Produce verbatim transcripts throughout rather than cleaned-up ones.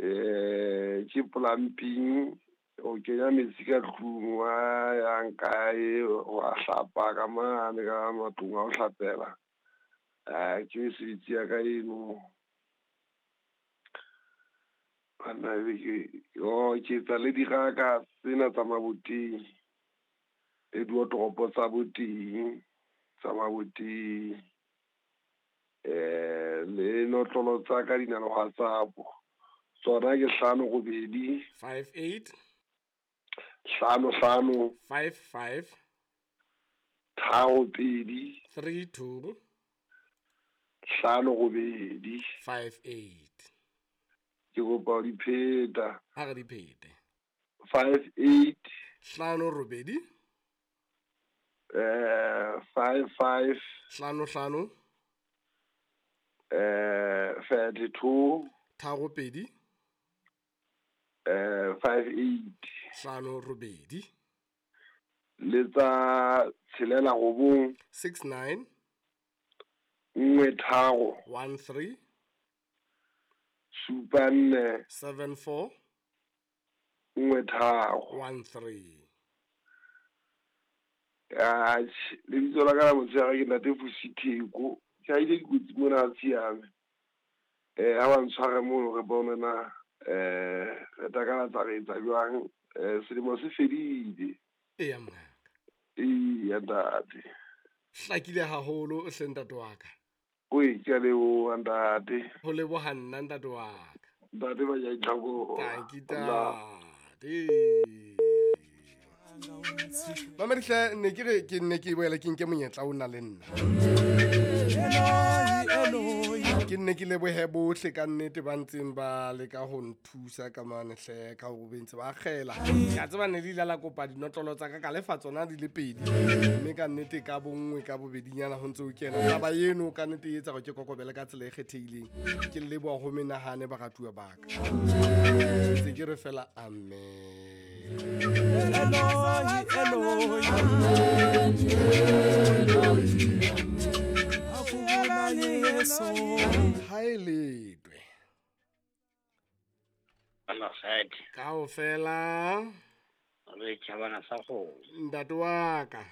Eh ke plumbing, o kenya metsi ka tlung wa yang kae, wa hlapa ka mane ka matlong a ho hlapela. Eh ke mesebetsi ya ka eno. Banna ebe ke oh ke etsa le diraka tsena tsa maboteng, le diotoropo tsa boteng tsa maboteng. Eh le notlolo tsa ka di na le WhatsApp. Tsona ke hlano robedi five eight hlano hlano five five tharo pedi three two hlano robedi five eight. Ke kopa ho di pheta. Ha re di phete. Five eight hlano robedi eh five five hlano hlano eh thirty two tharo pedi eh five eight hlano robedi le tsa tshelela robong six nine nngwe tharo one three supa nne seven four nngwe tharo one three. Atjhe, lebitso la ka la motshehare ke Ntate Vusi Theko. Ke haile dikotsi mona Tshiame. Eh ha ba ntshware mono re bone na eh re takalatsa re etsa jwang. Eh selemo se fedile. Eya mongaka. Eya ntate. Hlakile haholo o hle ntate wa ka. Oi, ke a leboha ntate. Ho leboha nna ntate wa ka. Ntate ba ya itlhako. Tanki ntate. Mamedihle ne ke re ke ne ke boela ke nke monyetla o na le nna. Ke nne ke lebohe bohle ka nnete ba ntseng ba leka ho nthusa ka mane hle ka hore be ntse ba akgela. Ke a tseba ne le ile la kopa dinotlolo tsa ka ka lefa tsona di le pedi. Mme ka nnete ka bonngwe ka bobedinyana ho ntse ho kena. Taba eno ka nnete e etsa hore ke kokobele ka tsela e kgethehileng. Ke leboha ho menahane baratuwa ba ka. Ntse ke re fela amen. Eloi, Eloi, Haeletwe. Kaofela. Re tjhabana sa kgomo. Ntate wa ka.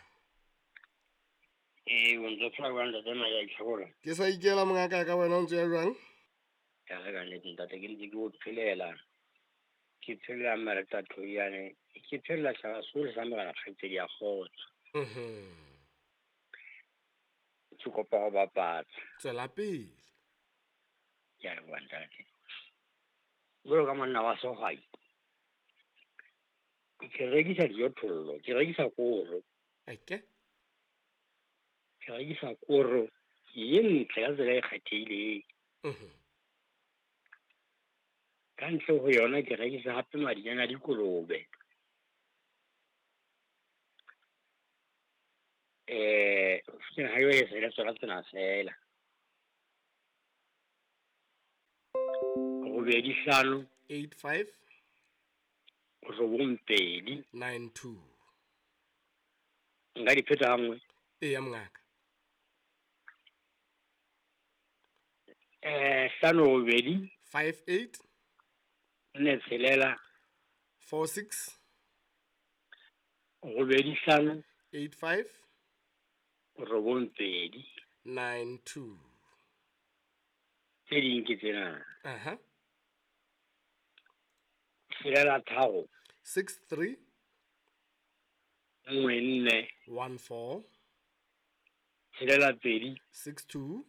Eh, o ntse phela jwang ntate Maya Itlhakola? Ke sa ikela mongaka ka wena o ntse ya jwang? Ka re ka nnete ntate ke ntse ke o phelela. Ke phelela Mareta Thoyane. Ke phelela tjhaba sohle sa morena kgaitsedi ya kgotso. Mhm. Ke kopa ho bapatsa. Tswela pele. Ke a leboha ntate. Jwalo ka monna wa sehwai, ke rekisa dijothollo, ke rekisa koro. Eke? Ke rekisa koro ye ntle ka tsela e kgethehileng. Mhm. Ka ntle ho yona ke rekisa hape madinyane a dikolobe. Eh, ha yo e se le tsona tsena fela. Robedi hlano eight five robong pedi nine two. Nka di pheta hanngwe. Eya mongaka. Eh hlano robedi five eight nne tshelela four six robedi hlano eight five robong pedi nine two. Tse ding ke tsena. Aha. Tshelela tharo six three nngwe nne one four tshelela pedi six two.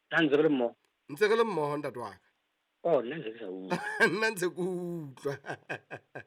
Nna ntse re le mmoho. Ntse re le mmoho ntate wa ka. Oh, nna ntse ke sa utlwa. Nna ntse ke utlwa.